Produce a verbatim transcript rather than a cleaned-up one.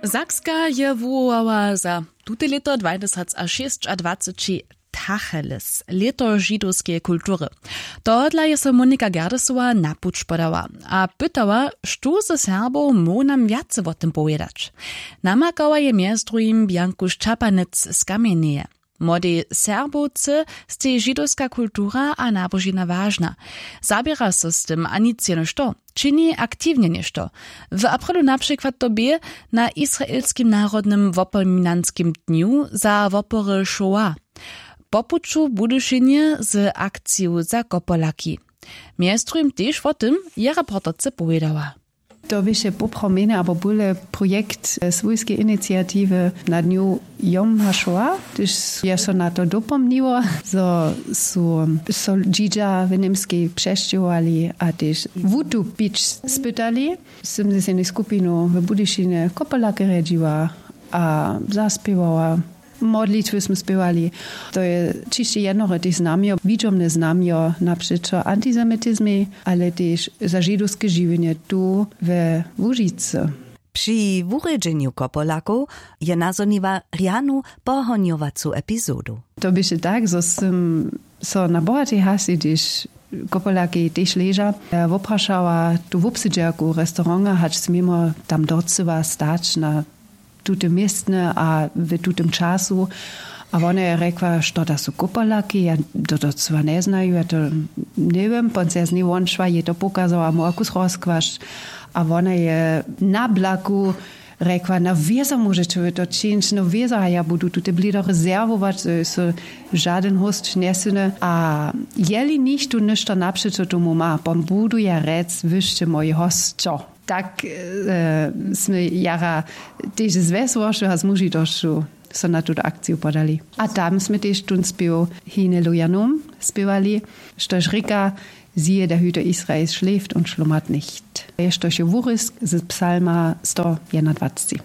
Sakska je wuwołała za tute lěto dwajtysacšěsćadwaceći tacheles, lěto židowskeje kultury. Tohodla je so Monika Gerdesowa na puć podała a pytała, štó ze Serbow móhł nam wjace wo tym powědać. Namakała je mjez druhim Bjanku Šćapanec z Kamjenjeje. Młodej Serbowce stej židowska kultura a nabožina wažna. Zaběra so z tym a nic jenož to, čini aktiwnje něšto. W aprilu na přikład to bě na israelskim narodnym wopominanskim dnju za wopory šoła, po puću w budyšinje z akciju za kopolaki. Mjez druhim tež wo tym je reporterce powědała. To běše poprawjenje abo bóle projekt swójskeje iniciatiwy na dnju Jom HaShoah, hdyž je so na to dopomniło, zo su so dźidźa w němskej přesćěhowali a tež wutupić spytali. Sym z jednej skupinu w budyšinje kopolake rjedźiła a zaspěwała. Modlitwy smy spěwali. To je ćišće jednore tež znamjo, widźomne znamjo na přećo antisemitizmej, ale tež za židowske žiwjenje tu we Łužicy. Při wurjedźenju kopolakow je nazhoniła rjanu pohonjowacu epizodu. To běše tak, zo sym so na bohatej hasi, hdyž kopolaki tež leža, woprašała tu wobsedźerku restauranta, hač směmo tam docyła stać na tute městne a w tutem času. A wona je rjekła, što da su kopolaki, ja to docyła njeznaju, ja to njewěm. Pon se z njej wonšła, jej to pokazała, móhła kus rozkłašć. A wona je na blaku rjekła, na wězo móžeće wy to čińć, no wězo, a ja budu tute blido rezerwować, zo je so žadyn hósć njesyny. A jeli nichtó něšto napřećo tomu ma, pon budu ja rjec, wy sće mój hosćo. Tak smy jara tež z wjesłošću a z mužitosću so na tutu akciju podali. A tam smy tež tón spěw Hine Lujanum spěwali, štož rěka: Siehe, der Hüter Israels schläft und schlummert nicht. Je štož je wurězk z psalma sto jedynadwacci.